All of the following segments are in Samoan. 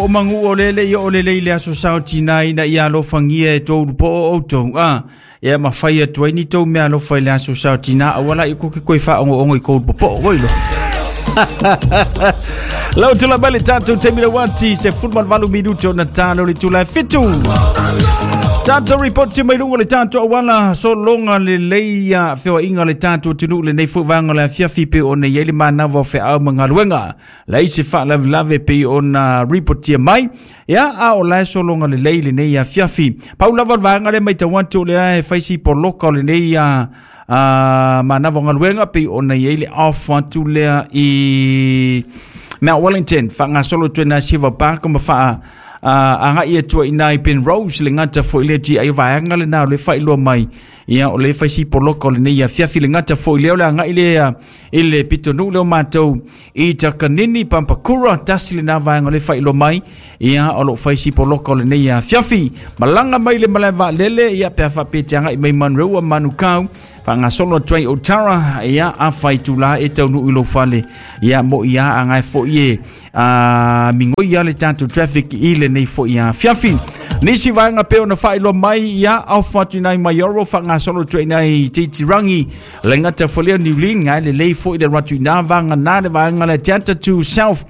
O magu o lele i o lelei le aso sao tina ina ia alofagia e tou po o outou. A, ia mafai atu ai ni tou mea alofa i le aso sao tina aua la i ko ke koe whaongo i kou popo o ilo. Lau tula mai le tatou taimi le wati se 18 minute o na talo le tula e 7. Tatou report mai lunga le tatou awala sologa lelei a feoaiga le tatou atunuu lenei foi vaega o le afiafi pe ona i ai le manava o feau ma galuega. Leai se faalavelave pei ona ripotia mai. Ia, a o la e sologa lelei lenei afiafi. Pau lava o le vaega lea matau atu o lea e fai si poloka o lenei a manava o galuega pei ona i ai le off atu lea i Mount Wellington faagasolo atu ai na Silver Park ma faa agai atu ai i ina i Penrose le gata foi lea GI vaega lena o le faailoa mai. Ia, o le fai si poloka o lenei afiafi le gata foi lea o le agai lea i le pitonuu lea o matou i Takanini Pampakura, tasi lena vaega o le faailoa mai. Ia, o loo fai si poloka o lenei afiafi. Malaga mai le malae vaalele, ia pe a faapea te agai mai Manureua Manukau, faagasolo atu ai Otara, ia afa itula e taunuu i lou fale. Ia mo ia agai foi e a migoi ia le tatou traffic i lenei foi afiafi. Nisi vaega pe ona faailoa mai, ia off atu inai Maioro faagasolo atu ai inai Titirangi, le gata foi lea New Lynn, ngai lelei foi le atu ina vaega na le vaega le Delta to South.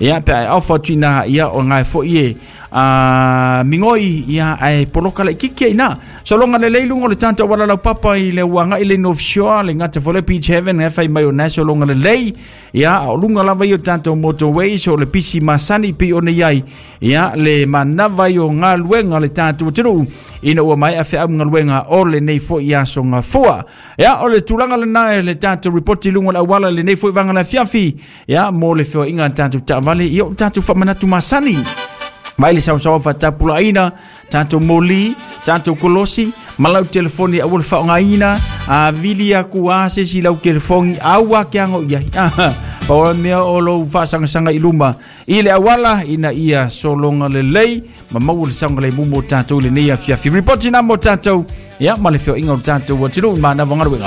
Ia pe ai off atu ina ia o ngai foi e a migoi ia ai poloka le kiki ina. Sologa lelei luga o le tatou auala laupapa i le uagai le North Shore, le gata foi le Beach Haven, ngai fai mai o na sologa lelei. Ia, o luga lava i o tatou motorways o le pisi masani pei ona i ai. Ia, le manava i o galuega le tatou atunuu ina ua maea feau galuega o lenei foi aso gafua. Ia, o le tulaga lena e le tatou report i luga o le auala lenei foi vaega o le afiafi. Ia, mo le feoaiga a le tatou taavale, ia o le tatou faamanatu masani. Mai le saosaoa faatapulaaina, tatou moli, tatou kolosi, ma lau telefoni aua le faaaogaina, a vili aku a se isi lau telefoni, aua ke ago i ai. Pau o le mea o lou faasagasagai luma i le auala ina ia sologa lelei ma maua le saogalemu mo tatou i lenei afiafi. Ripoti na mo tatou, ia ma le feoaiga o le tatou atunuu i manava o galuega.